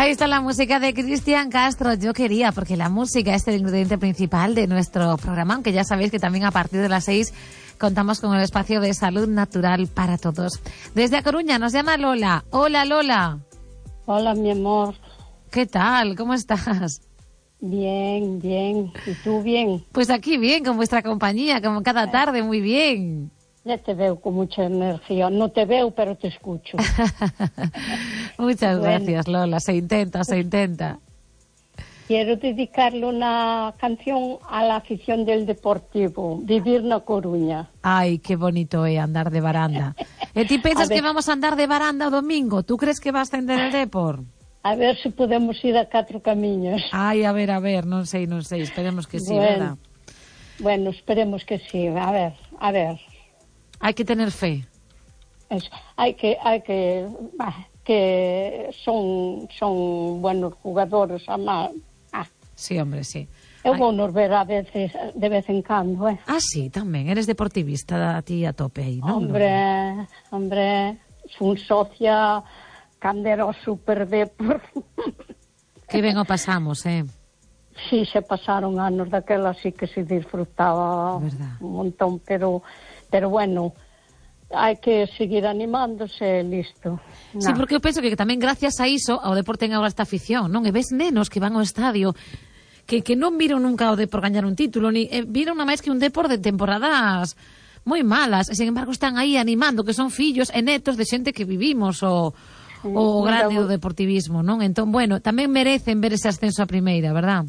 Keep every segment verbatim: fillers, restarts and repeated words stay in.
Ahí está la música de Cristian Castro. Yo quería, porque la música es el ingrediente principal de nuestro programa, aunque ya sabéis que también a partir de las seis contamos con el espacio de salud natural para todos. Desde A Coruña nos llama Lola. Hola, Lola. Hola, mi amor. ¿Qué tal? ¿Cómo estás? Bien, bien. ¿Y tú bien? Pues aquí bien, con vuestra compañía, como cada tarde, muy bien. Ya te veo con mucha energía. No te veo, pero te escucho. Muchas bueno. gracias, Lola. Se intenta, se intenta. Quiero dedicarle una canción a la afición del Deportivo, vivir na Coruña. Ay, qué bonito é andar de baranda. E ti pensas que vamos a andar de baranda o domingo? Tú crees que va a ascender el Depor? A ver se podemos ir a catro camiños. Ai, a ver, a ver, non sei, non sei. Esperemos que sí, bueno, verdad? Bueno, esperemos que sí. A ver, a ver. Hai que tener fe. Es, hai que, hai que, bah, que son, son buenos jugadores, ama. Ah. Sí, hombre, sí. Eu vou nos ver a veces, de vez en cando, eh. Ah, sí, tamén. Eres deportivista a ti a tope aí, non? Hombre, hombre, son socia cando era o Super Depor. Que ben o pasamos, eh? Sí, se pasaron anos daquela, sí que se disfrutaba verdad. Un montón, pero, pero bueno, hai que seguir animándose, listo. No. Sí, porque eu penso que tamén gracias a iso ao Depor ten agora esta afición, non? E ves nenos que van ao estadio que, que non viron nunca o Depor gañar un título, ni eh, viron nada máis que un Depor de temporadas moi malas, e, sin embargo están aí animando, que son fillos e netos de xente que vivimos o, sí, o grande do deportivismo, non? Entón, bueno, tamén merecen ver ese ascenso a primeira, verdad?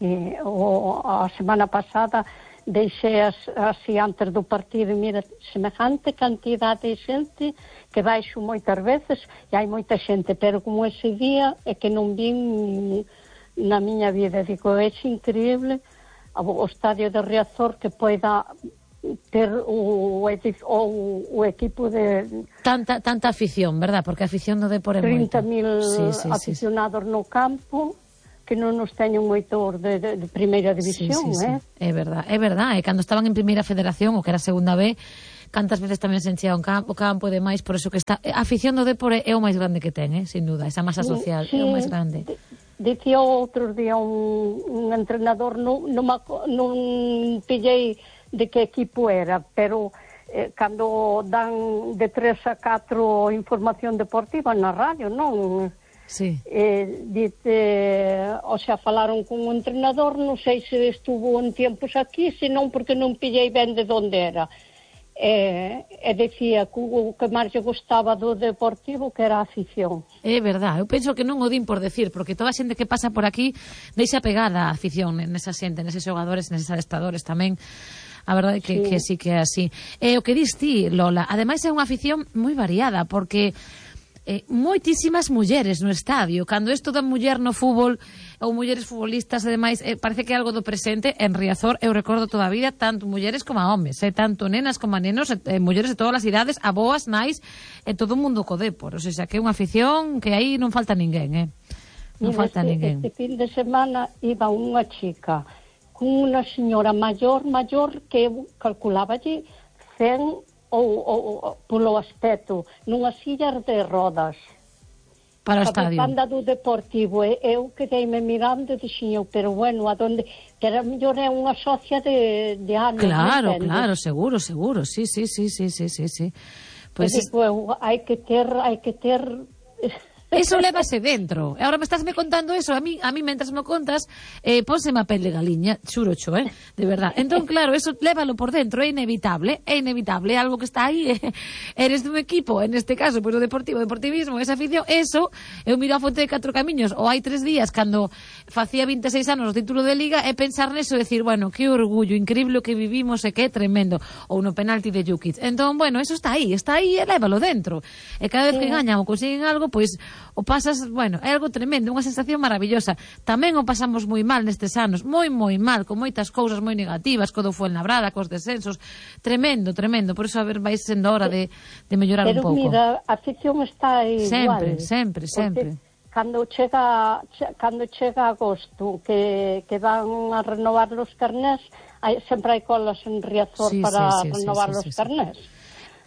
Sí, o, a semana pasada deixei as, así antes do partido e mira, semejante cantidade de xente que baixo moitas veces e hai moita xente, pero como ese día é que non vin na miña vida, digo, é increíble o estadio de Riazor que poida ter o, o, o equipo de tanta tanta afición, verdad? Porque a afición do Depor é moita. trinta mil sí, sí, aficionados sí, sí. no campo que non nos teñen moitos de, de, de primeira división, sí, sí, eh? Sí. É verdad, é verdad, e cando estaban en primeira federación, o que era segunda B, cantas veces tamén se enchía un campo, campo e demais, por eso que está, a afición do Depor é o máis grande que ten, eh? Sin duda, esa masa social sí, é o máis grande. Dicía outro día un, un entrenador, non, non, non pillei de que equipo era, pero eh, cando dan de tres a catro información deportiva na radio, non? Sí. Eh, dice, o sea, falaron con un entrenador, non sei se estuvo en tiempos aquí, senón porque non pillei ben de onde era. E, e decía que o que máis lle gostaba do Deportivo que era a afición. É verdad, eu penso que non o din por decir, porque toda a xente que pasa por aquí deixa pegada a afición nesa xente, neses xogadores, neses adestradores tamén. A verdade é que sí, que sí que é así. E o que dis ti, Lola, ademais é unha afición moi variada, porque eh, moitísimas mulleres no estadio. Cando isto da muller no fútbol ou mulleres futbolistas e demais, eh, parece que é algo do presente. En Riazor eu recordo toda a vida tanto mulleres como a homes, eh, tanto nenas como a nenos, eh, mulleres de todas as idades, aboas, nais, e eh, todo o mundo co Depor. O sea, que é unha afición que aí non falta ninguén, eh? Non Mira, falta este, ninguén. Este fin de semana iba unha chica con unha señora maior, maior, que eu calculáballe cen ou, ou, ou polo aspecto, nunha silla de rodas. Para o estadio. A banda do Deportivo, e eu quedeime mirando e dixen eu, pero bueno, a donde, que era mellor é unha socia de, de anos. Claro, claro, seguro, seguro, sí, sí, sí, sí, sí, sí, sí. Pues digo, eu, hai que ter, hai que ter... Eso lévase dentro. Ahora me estás me contando eso, a mí, a mí mentras me contas, eh, pónseme a pel de galiña, xurocho, eh, de verdad. Entón, claro, eso lévalo por dentro, é inevitable, é inevitable, é algo que está aí, eh. Eres dun equipo, en este caso, pois pues, o deportivo, deportivismo, esa afición, eso, eu miro a Fonte de Catro Camiños, ou hai tres días, cando facía vinte e seis anos o título de Liga, é pensar neso e decir, bueno, que orgullo, increíble o que vivimos e que tremendo, ou no penalti de Jukic. Entón, bueno, eso está aí, está aí, e lévalo dentro. E cada vez que gañan ou consiguen algo, pois, pues, o pasas, bueno, é algo tremendo, unha sensación maravillosa. Tamén o pasamos moi mal nestes anos, moi, moi mal, con moitas cousas moi negativas, co do Fuenlabrada, cos descensos, tremendo, tremendo, por iso a ver vai sendo hora de, de mellorar pero un pouco. Pero mira, a afición está igual. Sempre, sempre, sempre. Cando chega, cando chega agosto, que, que van a renovar los carnés, hai, sempre hai colas en Riazor sí, para sí, sí, renovar sí, sí, los sí, carnés. Sí.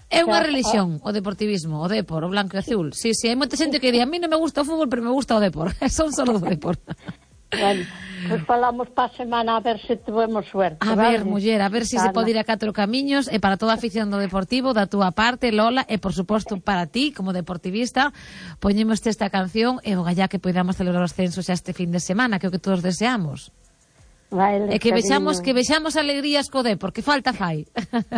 É unha religión, o deportivismo, o depor, o blanco e azul. Sí, sí, hai moita xente que di, a mí non me gusta o fútbol, pero me gusta o depor. Son solo do depor. Bueno, pois pues falamos para a semana a ver se tuvemos suerte. A vale? ver, muller, a ver se si se pode ir a catro camiños, e para toda a afición do Deportivo, da túa parte, Lola, e por suposto para ti, como deportivista, poñemos esta canción e o gallá que podamos celebrar os censos xa este fin de semana, que é o que todos deseamos. Vale, e que cariño. vexamos que vexamos alegrías co Depor, que falta fai.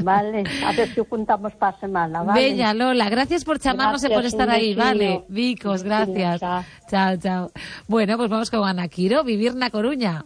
Vale, a ver se o contamos para a semana, vale? Bella, Lola, gracias por chamarnos e por estar aí, vale? Vicos, gracias. Chao, chao. Bueno, pues vamos con Ana Quiro, Vivir na Coruña.